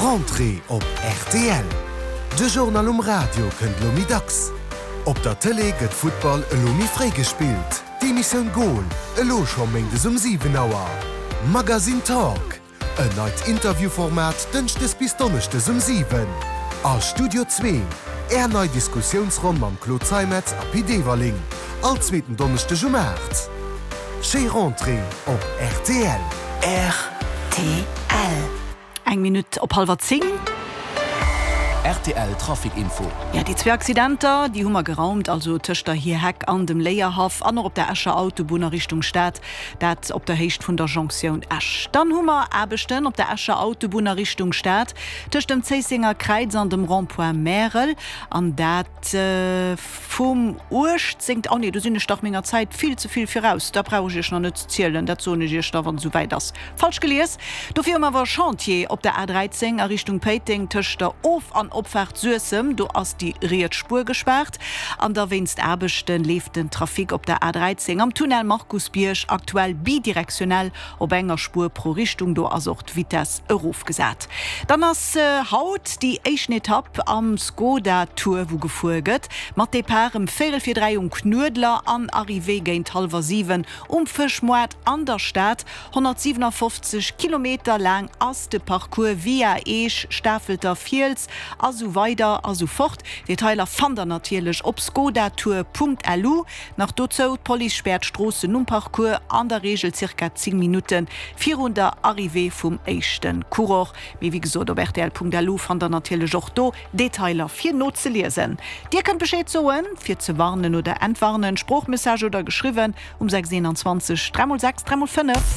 Rentrée op rtl, De Journal um Radio kënnt elo méi dacks. Op der Tëlee gëtt Futtball elo méi fréi gespillt, d'Emissioun Goal elo scho méindes um 7 Auer. Magazine Talk, En neit Interviewformat dënschdes bis donneschdes um 7. A Studio Zwee, Är nei Diskussiounsronn mam Claude Zeimetz a Pit Everling, all zweeten Donneschdeg um 8. Schéi Rentrée op rtl. Rtl. Eng Minutt op hallwer 10. Rtl Trafic Info. Jo, déi zwee Accidenter, déi hu mer geraumt, also tëscht der Hierheck an dem Léierhaff an och op der Escher Autobunn a Richtung Stad, dat op der Héicht vun der Jonktioun Esch. Dann hu mer Aarbechten op der Escher Autobunn a Richtung Stad, tëscht dem Zéissenger Kräiz an dem Rond-point Märel, an dat vum 18. Oh nee, do sinn ech dach menger Zäit vill ze vill viraus, dat brauch ech Iech nach net ze zielen, dat soen ech Iech da wann et esou wäit ass. Falsch gelies. Dofir hu mer awer e Chantier op der A 13 a Richtung Péiteng tëscht der Of an Opfaart Suessem. Do ass déi riets Spuer gespaart an da wéinst Aarbechte leeft den Trafic op der A 13 am Tunnel Markusbierg aktuell bidirektionell op enger Spuer pro Richtung. Do ass och d'Vitess erofgesat. Dann ass haut déi éischten Etapp am Skoda Tour wou gefuer gëtt, mat Depart ëm véierel vir 3 um Knuedler an Arrivée géint hallwer 7 Um Fëschmoart an der Stad, 157 Kilometer laang ass de Parcours via Eech, Stafelter Fiels a sou weider a sou fort. Detailer fannt der natierlech op skodatour.lu. Nach dozou, d'Police späert d'Stroossen um Parcours an der Reegel zirka 10 Minutte virun der Arrivée vum éischte Coureur. Mee wéi gesot, op rtl.lu fannt der natierlech och do Detailer fir nozeliesen. Dir kënnt Bescheed soen, fir ze warnen oder entwarnen, Sproochmessage oder geschriwwen um 6 21 3 x 6 3 x 5.